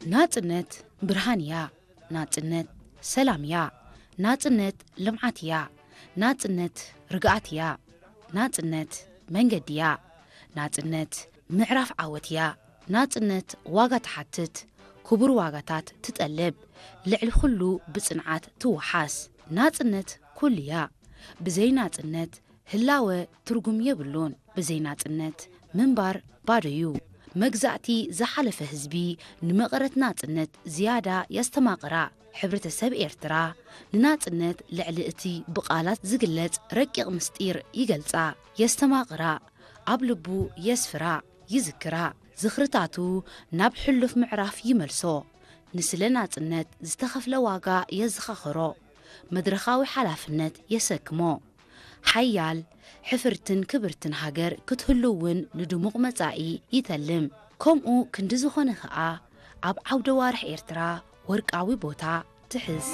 ናጽነት ብርሃን እያ። ናጽነት ሰላም እያ። ናጽነት ልምዓት እያ። ናጽነት ርግኣት እያ። ናጽነት መንገዲ እያ። ናጽነት ምዕራፍ ዓወት እያ። ናጽነት ዋጋ ትሓትት። ክቡር ዋጋታት ትጠልብ። ልዕሊ ኩሉ ብጽንዓት ትወሓስ። ናጽነት ኩሉ እያ። ብዘይ ናጽነት ህላወ ትርጉም የብሉን። ብዘይ ናጽነት ምንባር ባዶ እዩ። መግዛእቲ ዝሓለፈ ህዝቢ ንመቐረት ናጽነት ዝያዳ የስተማቕራ። ሕብረተሰብ ኤርትራ ንናጽነት ልዕሊ እቲ ብቓላት ዝግለጽ ረቂቕ ምስጢር ይገልጻ፣ የስተማቕራ፣ ኣብ ልቡ የስፍራ፣ ይዝክራ። ዝኽርታቱ ናብ ሕሉፍ ምዕራፍ ይመልሶ። ንስለ ናጽነት ዝተኸፍለ ዋጋ የዘኻኽሮ። መድረኻዊ ሓላፍነት የሰክሞ። ሓያል፣ ሕፍርትን ክብርትን ሃገር ክትህሉ እውን ንድሙቕ መጻኢ ይተልም። ከምኡ ክንዲ ዝኾነ ኸኣ ኣብ ዓውደ ዋርሕ ኤርትራ ወርቃዊ ቦታ ትሕዝ።